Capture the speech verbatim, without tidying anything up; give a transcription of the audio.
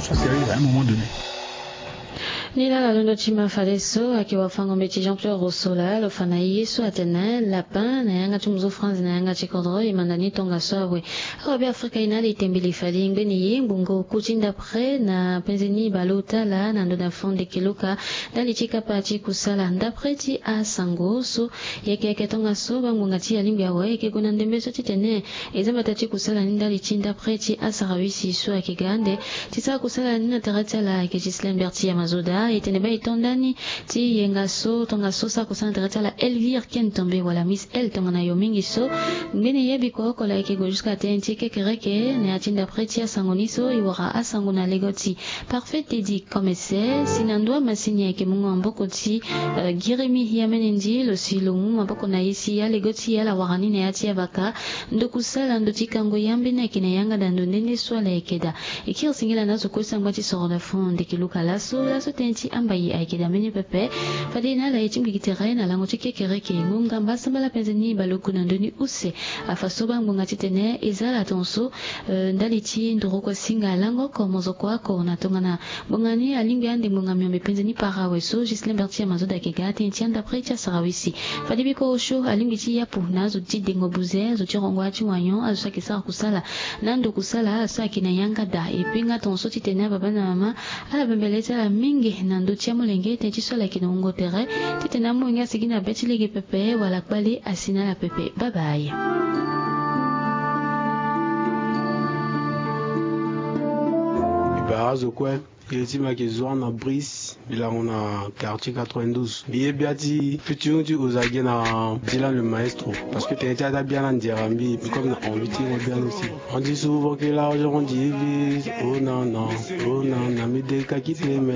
Soit sérieux à un moment donné. Ni laa na londo ti ma fadeso ayeke wafango-mbeti Jean-Pierre Rousseau laa lo fa na e ye so atene lapin na yanga ti muzu France na yanga ti kodro e manda ni tongaso awe. Awa Beafrika e na ala e tembele fade e ngbene ye ngbonga oku ti ndapre na penze ni baleota laa na ndo na fond de keloka ndali ti kapa ti kusala ndapre ti asango so. Yeke yeke tongaso bangbonga ti alingbi awe yeke gue na ndembe so titene e za mbata ti kusala ni ndali ti ndapre ti asarawisi so ayeke ga ande ti sara kusala ni na tere ti ala ayeke Ghislain Berti ya Mazoda. E tene baa e to ndani ti yenga so tongaso sara kusala na tere ti ala Elvire Ken Tombe wala Miss El tongana yo mingi so. Ngbene ye biko oko laa e yeke gue jusqu'à tënë ti kekereke na ya ti ndapre ti asango ni so e wara asango na lego ti Parfait Teddy Commissaire si na ndö amasini ayeke mungo maboko ti Giremi Yamenendi lo si lo mu maboko na ye si alego ti e ala wara ni na ya ti abaka ndo kusala ndo ti kango yambeni ayeke na yanga da ndo nde nde so ala yeke daa. E kiri singila na azo kue sangba ti soro na fond de keloka laso laso tënë ti ambaye ayeke daa mbeni pepe. Fade na ala ye ti ngbiki tere na lango ti kekereke ngonga mbasambala penze ni baleoku na ndö ni use. Afa so bangbonga titene e za ala tongaso ndali ti ndoroko asinga lango oko mozoko oko na tongana ngbonga ni alingbi ande ngbonga miombe penze ni para awe so Ghislain Berti ya Mazoda ayeke ga tënë ti andapre ti asarawisi. Fade biko osio alingbi ti yapu na azo ti dengo buze azo ti rongo ya ti wanyon azo so ayeke sara kusala na ndo kusala so ayeke na yanga da e pe nga tongaso titene ababa na mama ala bembele ti ala mingi na ndö ti amolenge tënë ti so ala yeke na wungo tere titene amolenge asigi na be ti lege pepe wala kpale asi na ala pepe. Babaye. Mbi bara azo kue. Iri ti mbi ayeke Zoan na Brice, mbi lango na quartier quatre-vingt-douze. Mbi ye bia ti featuring ti Ozage na Dylan le maestro. Parce que tënë ti ata bia na nzere mbi, mbi comme na envie ti mo bia aussi. On dit souvent que l'argent divise, oh non non, oh non non, mais dès que quitter